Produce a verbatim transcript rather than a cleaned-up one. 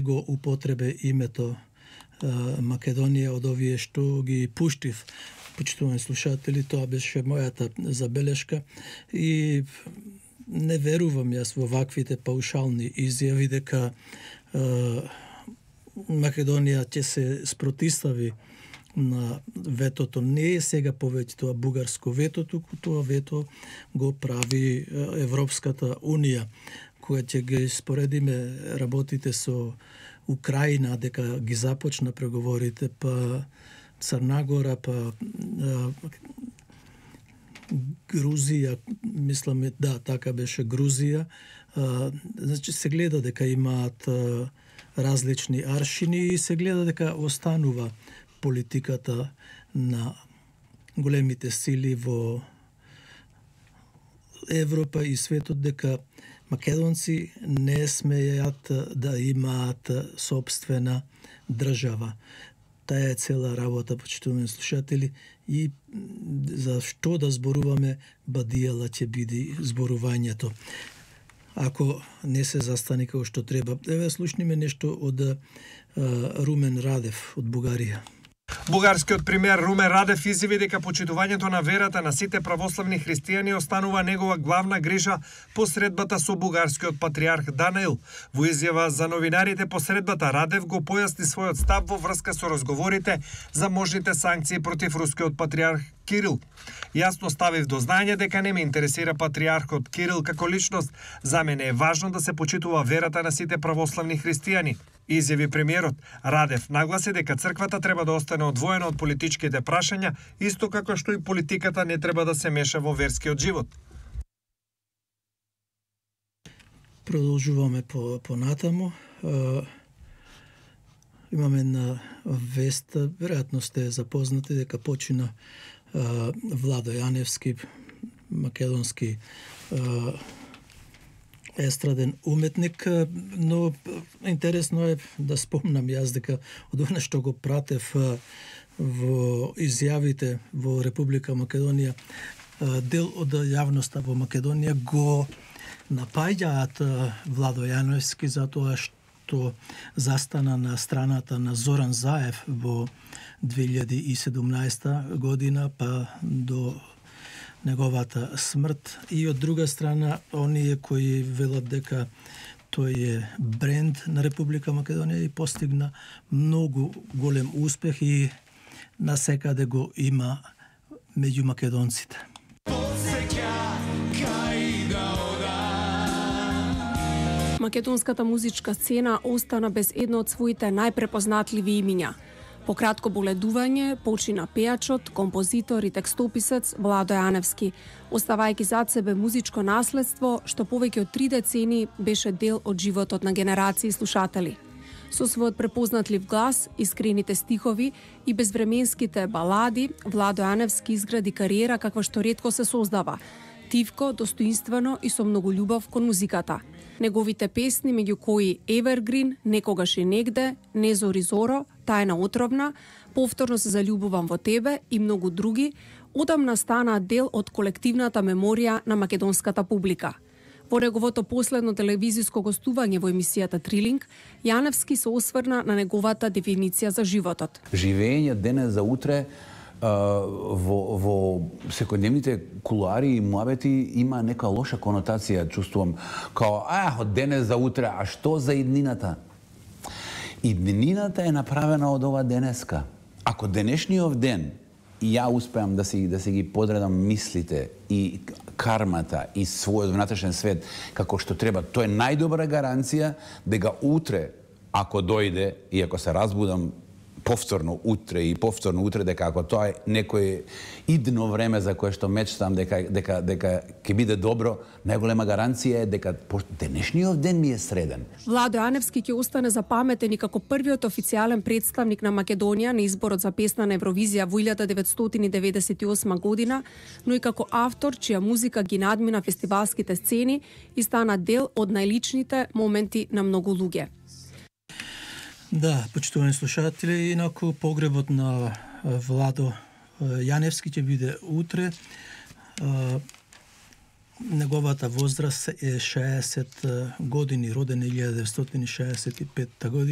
го употребе името Македонија од овие што ги пуштив. Почитувани слушатели, тоа беше мојата забелешка и не верувам јас во ваквите паушални изјави дека е, Македонија ќе се спротистави на ветото. Не е сега повеќе тоа бугарско вето, туку тоа вето го прави Европската Унија, која ќе ги споредиме работите со Украина, дека ги започна преговорите, па Црна па а, Грузија, мислам, да, така беше Грузија. А, значи се гледа дека имаат а, различни аршини и се гледа дека останува политиката на големите сили во Европа и светот, дека македонци не смеат да имаат собствена држава. Таа е цела работа, почитувани слушатели, и за што да зборуваме, бадијала ќе биде зборувањето. Ако не се застане како што треба. Еве слушниме нешто од а, Румен Радев од Бугарија. Бугарскиот премиер Румен Радев изјави дека почитувањето на верата на сите православни христијани останува негова главна грижа по средбата со бугарскиот патриарх Данаил. Во изјава за новинарите по средбата Радев го појасни својот став во врска со разговорите за можните санкции против рускиот патриарх Кирил. Јасно ставив до знаење дека не ме интересира патриархот Кирил како личност. За мене е важно да се почитува верата на сите православни христијани, изјави премиерот. Радев нагласи дека црквата треба да остане одвоена од политичките прашања, исто како што и политиката не треба да се меша во верскиот живот. Продолжуваме по понатаму. Имаме на вест, веројатно сте запознати дека почина Владо Јаневски, македонски естраден уметник, но интересно е да спомнам јас дека од она што го пратев во изјавите во Република Македонија, дел од јавноста во Македонија го напаѓаат Владо Јаневски за тоа што застана на страната на Зоран Заев во две илјади и седумнаесета година па до неговата смрт, и од друга страна оние кои велат дека тој е бренд на Република Македонија и постигна многу голем успех и насекаде го има меѓу македонците. Македонската музичка сцена остана без едно од своите најпрепознатливи имиња. По кратко боледување почина пејачот, композитор и текстописец Владо Јаневски, оставајќи зад себе музичко наследство што повеќе од три децени беше дел од животот на генерации слушатели. Со својот препознатлив глас, искрените стихови и безвременските балади, Владо Јаневски изгради кариера каква што ретко се создава. Тивко, достоинствено и со многу љубов кон музиката. Неговите песни, меѓу кои Evergreen, Некогаш и негде, Не зори зоро, Тајна отровна, Повторно се заљубувам во тебе и многу други, одамна станаа дел од колективната меморија на македонската публика. Во неговото последно телевизиско гостување во емисијата Трилинг, Јаневски се осврна на неговата дефиниција за животот. Живење денес за утре во, во секојдневните кулуари и муабети има нека лоша конотација, чувствувам, као, а, од денес за утре, а што за иднината? Иднината е направена од ова денеска. Ако денешниот ден и ја успеам да си, да си ги подредам мислите и кармата и својот внатрешен свет како што треба, тоа е најдобра гаранција дека утре, ако дојде и ако се разбудам повторно утре и повторно утре, дека ако тоа е некој идно време за кое што мечтам дека дека дека ќе биде добро, најголема гаранција е дека денешниот ден ми е среден. Владо Јаневски ќе остане запаметен и како првиот официјален представник на Македонија на изборот за песна на Евровизија во илјада деветстотини деветдесет и осма година, но и како автор чија музика ги надмина фестивалските сцени и стана дел од најличните моменти на многу луѓе. Да, почитувани слушатели, инаку погребот на Владо Јаневски ќе биде утре. неговата возраст е шеесет години, роден е илјада деветстотини шеесет и петта година.